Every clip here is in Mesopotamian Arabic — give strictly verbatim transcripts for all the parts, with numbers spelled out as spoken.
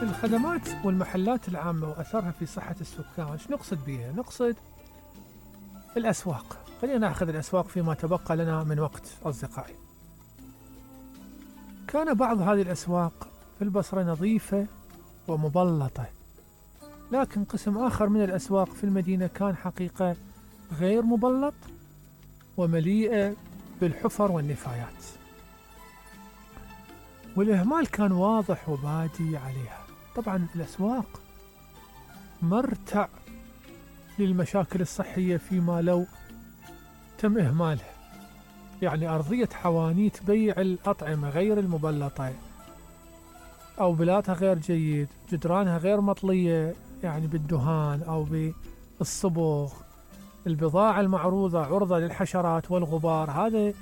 الخدمات والمحلات العامة وأثرها في صحة السكان، شو نقصد بها؟ نقصد الأسواق. خلينا نأخذ الأسواق فيما تبقى لنا من وقت أصدقائي. كان بعض هذه الأسواق في البصرة نظيفة ومبلطة، لكن قسم آخر من الأسواق في المدينة كان حقيقة غير مبلط ومليئة بالحفر والنفايات، والإهمال كان واضح وبادي عليها. طبعا الأسواق مرتع للمشاكل الصحية فيما لو تم إهمالها، يعني أرضية حوانيت بيع الأطعمة غير المبلطة أو بلاتها غير جيد، جدرانها غير مطلية يعني بالدهان أو بالصبغ، البضاعة المعروضة عرضة للحشرات والغبار، هذا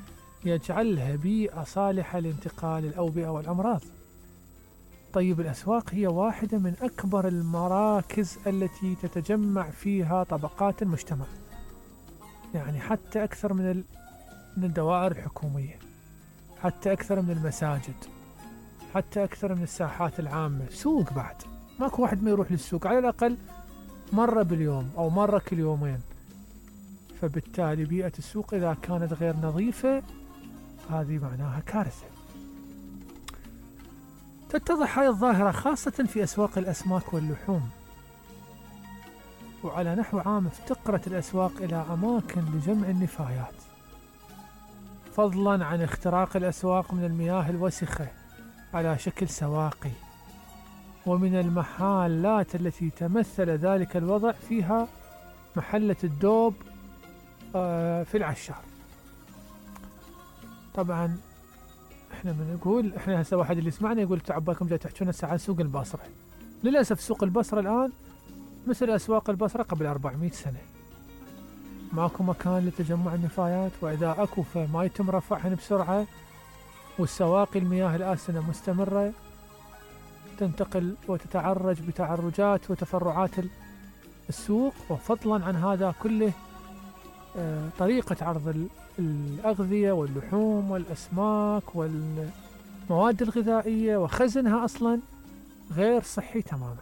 يجعلها بيئة صالحة لانتقال الأوبئة والأمراض. طيب الأسواق هي واحدة من أكبر المراكز التي تتجمع فيها طبقات المجتمع، يعني حتى أكثر من من الدوائر الحكومية، حتى أكثر من المساجد، حتى أكثر من الساحات العامة. سوق بعد، ماكو واحد ما يروح للسوق على الأقل مرة باليوم أو مرة كل يومين. فبالتالي بيئة السوق إذا كانت غير نظيفة هذه معناها كارثة. تتضح هذه الظاهرة خاصة في أسواق الأسماك واللحوم، وعلى نحو عام افتقرت الأسواق إلى أماكن لجمع النفايات، فضلا عن اختراق الأسواق من المياه الوسخة على شكل سواقي، ومن المحلات التي تمثل ذلك الوضع فيها محلة الدوب في العشار. طبعا احنا بنقول احنا هسه واحد اللي يسمعنا يقول تعبالكم جاي تحكون هسه عن سوق البصرة. للأسف سوق البصرة الآن مثل أسواق البصرة قبل أربعمئة سنة، ماكو مكان لتجمع النفايات، وإذا أكو فما يتم رفعهن بسرعة، والسواقي المياه الآسنة مستمرة تنتقل وتتعرج بتعرجات وتفرعات السوق. وفضلا عن هذا كله طريقة عرض الأغذية واللحوم والأسماك والمواد الغذائية وخزنها أصلا غير صحي تماما.